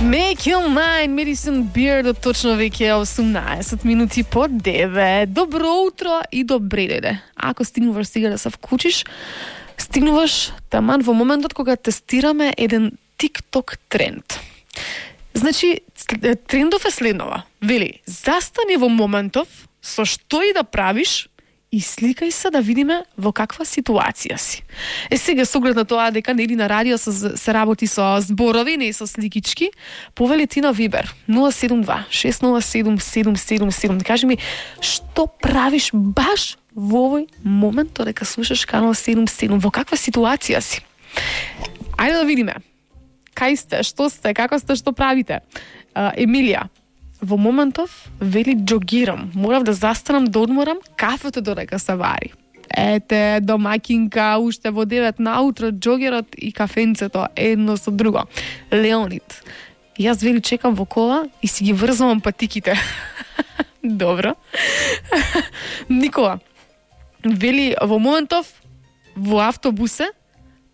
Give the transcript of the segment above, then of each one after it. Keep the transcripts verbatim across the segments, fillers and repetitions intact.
Make your mind, Medicine Beer, до точно веќе осумнаесет минути по девет. Добро утро и добре дојде. Ако стигнуваш сега да се вклучиш, стигнуваш таман во моментот кога тестираме еден TikTok тренд. Значи, трендов е следнова. Вели, застани во моментов, со што и да правиш, и сликај се да видиме во каква ситуација си. Е сега, со оглед на тоа дека нели на радио се, се работи со зборови, не со сликички, повели ти на Вибер нула седум два шест нула седум седум седум седум. Кажи ми, што правиш баш во овој момент додека слушаш канал седум седум, во каква ситуација си? Ајде да видиме. Кај сте, што сте, како сте, што правите? Uh, Емилија, во моментов вели джогирам, морав да застанам да одморам кафето додека се вари. Ете, домакинка, уште во девет наутро, джогерот и кафенцето едно со друго. Леонид, јас вели чекам во кола и си ги врзувам патиките. Добро. Никола, вели во моментов во автобусе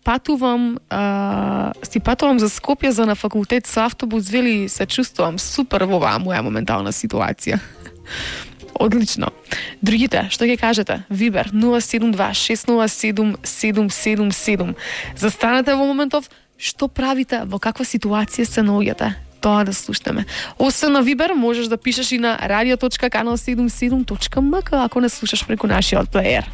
патувам, а, си патувам за Скопје за на факултет со автобус, вели се чувствувам супер во оваа моја моментална ситуација. Одлично. Другите, што ќе кажете? Вибер нула седум два шест нула седум седум седум седум. Застанете во моментов, што правите, во каква ситуација се наоѓате? Тоа да слушнеме. Освен на Вибер, можеш да пишеш и на радио точка канал седумдесет и седум точка ем ка ако не слушаш преку нашиот плеер.